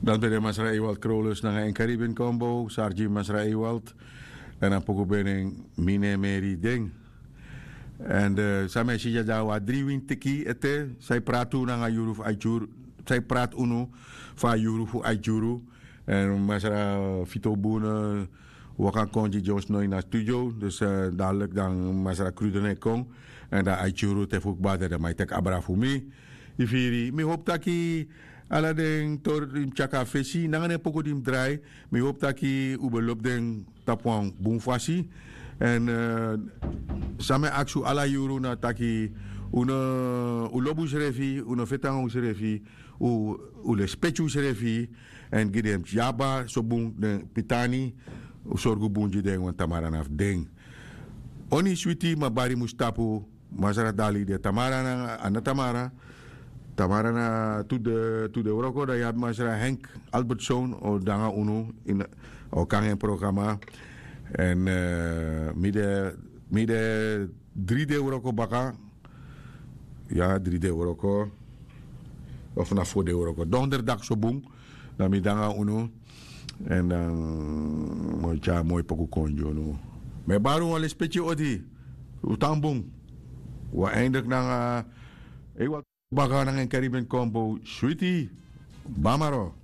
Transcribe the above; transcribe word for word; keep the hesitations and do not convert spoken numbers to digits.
Dan ben de masra Ewald Krolus nanga en Caribbean Combo, Sargi masra Ewald. En a poku ben en Mine Meri Ding. En san mi e si dyaso a dri wintiki ete, san e prati unu nanga yuru fu Aituru, san e prati unu fu a yuru fu Aituru. En masra Fito Bune waka kon gi Jones no ini a studio. Dus, eh, dadelijk dan masra Krudene kon. En dan Aituru te fu kba dan mi e teki abra fu mi. Yu firi, mi hopu taki ala den tori di mi tyari kon na fesi nanga den poku di mi drai, mi hopu taki un ben lobi den tapu wan bun fasi. En, eh, san mi e aksi un ala yuru na taki un no, un lobi unsrefi, un no feti nanga unsrefi, un, un lespeki unsrefi. En gi den tyaba so bun den pitani, un sorgu bun gi den wan tamara na fu den. Oni switi ma bari mus tapu. Masra Dali de tamara na, a na tamara. Tamara na tu de, tu de wroko dan yu abi masra Henk Albertson o de nanga unu ini, o kon nanga en programa. En, eh, mi de, mi de dri de wroko baka. Ya, dri de wroko. Of na fo de wroko. Donderdag so bun. Dan mi de nanga unu. En dan mi o tyari moi poku kon gi unu. Mi e bari un wan lespeki odi. Un tan bun. Un eindelijk nanga, eh, Ewald baka nanga en Caribbean Combo. Switi. Bamaro.